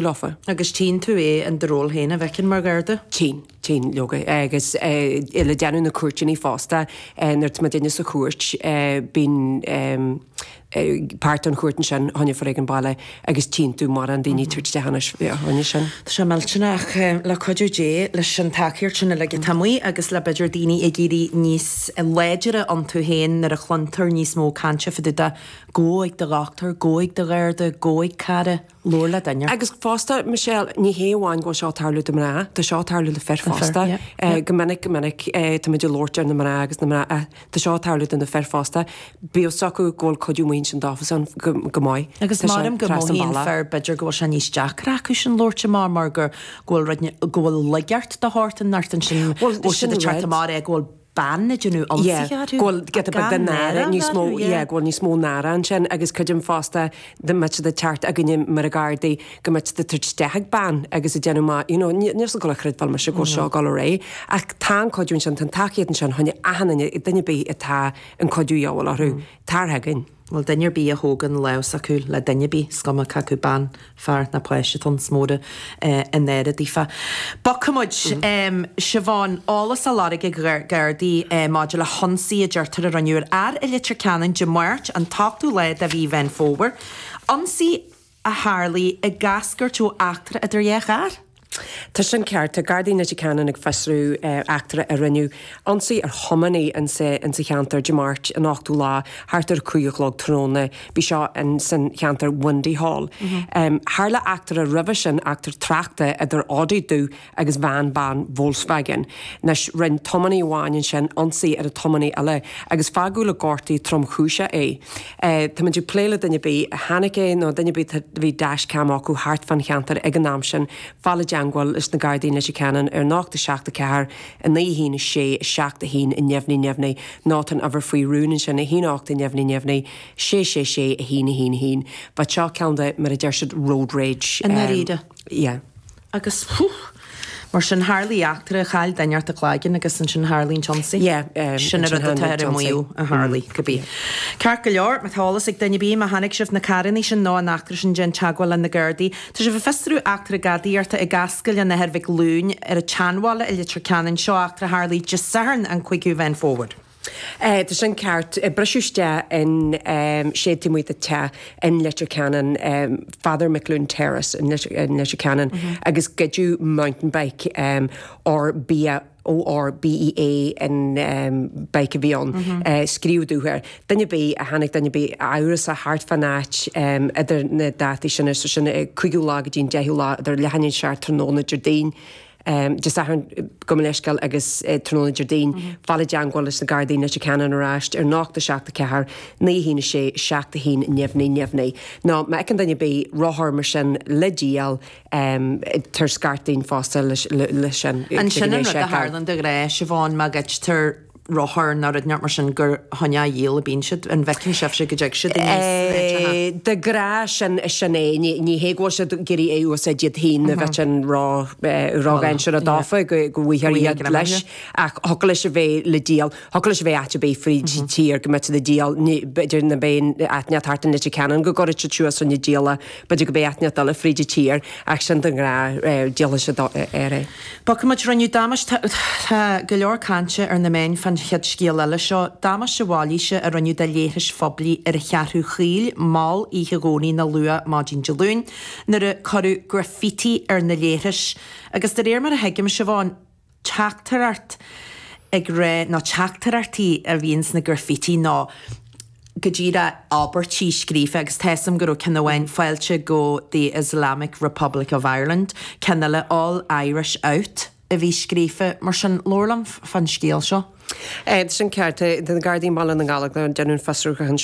Leofa. Agus tchíonn tú é in do ról féin, a bhfeiceann mar Gharda? Tchíonn, tchíonn, leoga. Agus le déanamh na cúirteanna fosta, nuair atá muidinne sa chúirt, bíonn páirt den chúirt ansin fá choinne foréigean baile agus tchíonn tú mórán daoine ag tabhairt isteach anois fá choinne sin. Tá sé millteanach ach le cuidiú Dé, leis an tacaíocht sin uilig atá amuigh agus le b'fhéidir daoine ag éirí níos láidre iontu féin nuair a chluintear níos mó cainte fá dtaobh de gabh ag do dhochtúir, gabh ag do Gharda, gabh ag cara. Labhair le duine. Agus fosta, Michelle, ní hé amháin go bhfuil seo ag tarlú do mná, tá seo ag tarlú le fir fosta. Go minic, go minic, táimid ag labhairt ar na mná agus na mná, tá seo ag tarlú do na fir fosta. Bíodh fhios acu go bhfuil cuidiú amuigh ansin dófasan go maith. Agus maram go mothaíonn fir b'fhéidir go bhfuil sé níos deacra acu sin labhairt amach mar go bhfuil rud, go bhfuil laigeacht de shórt inteacht ansin, go bhfuil siad ag teacht amach é go bhfuil bean ag déanamh ionsaithe orthu. Go bhfuil giota beag de náire níos mó, yeah, go bhfuil níos mó náire ansin agus creidim fosta dá mbeadh siad ag teacht againne mar a Gardaí go mbeadh siad ag tabhairt isteach ag bean agus ag déanamh maith, you know, níl siad ag dul a chreidbheáil mise go bhfuil seo ag dul ar aghaidh. Ach tá an cuidiú ansin, tá an tacaíocht ansin, fá choinne achan duine, duine ar bith atá an cuidiú a dhíobháil orthu, tar chugainn. Bhuel, duine ar bith a thógann lámh s'acu le duine ar bith, is cuma cé acu bean, fear ná páiste atá ann, is mór an náire daofa. Bogfaidh muid. Siobhán, eolas á lorg ag Gardaí maidir le hionsaí a deirtear a rinneadh ar fhear i Leitir Ceanainn Dé Máirt, an t-ochtú lá de mhí Mheán Fómhair. Ionsaí a tharlaigh ag eascairt ó eachtra idir dhá charr. Tá sin ceart. Tá Gardaí Leitir Ceanainn ag fiosrú eachtra a rinneadh ionsaí ar thiománaí insa cheantar Dé Máirt an 8ú lá thart ar 5 a chlog tráthnóna. Bhí seo insan cheantar Windy Hall. Tharla eachtra roimhe sin, eachtra tráchta idir Audi dubh agus veain bán Volkswagen. Anois, rinne tiománaí amháin ansin ionsaí ar an tiománaí eile agus fágadh le gortú tromchúiseach é. Táimid ag plé le duine ar bith a chonaic é nó duine ar bith a bhí dash cam acu thart fán cheantar ag an am sin, fáil i dteangmháil leis na Gardaí in Leitir Ceanainn ar 0 7 4 9 1 6 7 1 neamhní neamhní nó tá an uimhir faoi rún ansin 1 8 neamhní neamhní 6 6 6 1 1 1. But seo ceann de, mar a deir siad, road rage. I ndáiríre. Yeah. Agus, whew, mar sin, tharlaigh eachtra, chaill duine inteacht a cloigeann agus ansin tharlaigh an t-ionsaí. Yeah, Sin an rud atá ar an maíomh a tharlaigh, cibé. Ceart go leor, má tá eolas ag duine ar bith, má chonaic sibh na carrannaí sin nó an eachtra sin, déan teagmháil le na Gardaí. Tá sibh ag fiosrú eachtra gadaíochta i gCascail an Athar Mhic Fhloinn ar an tSeanbhaile i Leitir Ceanainn. Seo eachtra a tharlaigh Dé Sathairn an 5ú Mheán Fómhair. Tá sin ceart. Briseadh isteach in seid taobh amuigh de teach in Leitir Ceanainn, Father McLoone Terrace in Leitir Ceanainn agus goideadh mountain bike Orbea ORBEA an bike a bhí ann. Scríobh dubh air. Duine ar bith a chonaic duine ar bith amhrasach thart fán áit idir na dátaí sin, so sin an 5ú lá go dtí an 10ú lá idir leath i ndiaidh a 7 tráthnóna Déardaoin, Dé Sathairn, gabh mo leithscéal, agus tráthnóna Déardaoin, fáil i dteangmháil leis na Gardaí in Leitir Ceanainn ar ais ar 0 7 4 9 1 6 7 1 neamhní neamhní. Nó má fheiceann duine ar bith rothar mar sin le díol, tabhair scairt dúinn fosta leis sin. Ansin an rud a tharlann de ghnáth, Siobhán, má ghoidtear rothar nó rud inteacht mar sin gur chun é a dhíol a bíonn siad. An bhfeiceann sibhse go dtig siad aníos sna háiteacha? De ghnáth sin, sin é. Ní hé go bhfuil siad ag iarraidh é a úsáid iad féin a bheith sin ró-dhainséarach dófa go bhfaighfear iad leis ach thiocfadh leis a bheith le díol, thiocfadh leis a bheith áit ar bith fríd an tír go mbeadh siad ag díol, b'fhéidir ná beidh áit inteacht thart in Leitir Ceanainn go gcuirfidh siad suas chun díola, b'fhéidir go mbeidh áit inteacht eile fríd an tír ach sin de ghnáth díolfaidh siad air é. Bogfaimid, rinneadh damáiste, tá go leor cainte ar na meáin fán chéad scéal eile seo, damáiste mhailíse a rinneadh do leithris phoiblí ar an Cheathrú Chaoil mall oíche Dhomhnaigh nó luath maidin Dé Luain nuair a cuireadh graffiti ar na leithris agus de réir mar a thuigim, Siobhán, teachtaireacht ag rá, nó teachtaireachtaí a bhíonn sna graffiti nó go díreach abairtí scríofa agus tá 'fhios a'm go raibh ceann amháin 'Fáilte go the Islamic Republic of Ireland', ceann eile 'All Irish Out' a bhí scríofa. Mar sin, labhair liom fán scéal seo. Tá sin ceart. Tá na Gardaí i mBaile na nGall ag déanamh an fiosrúchán seo.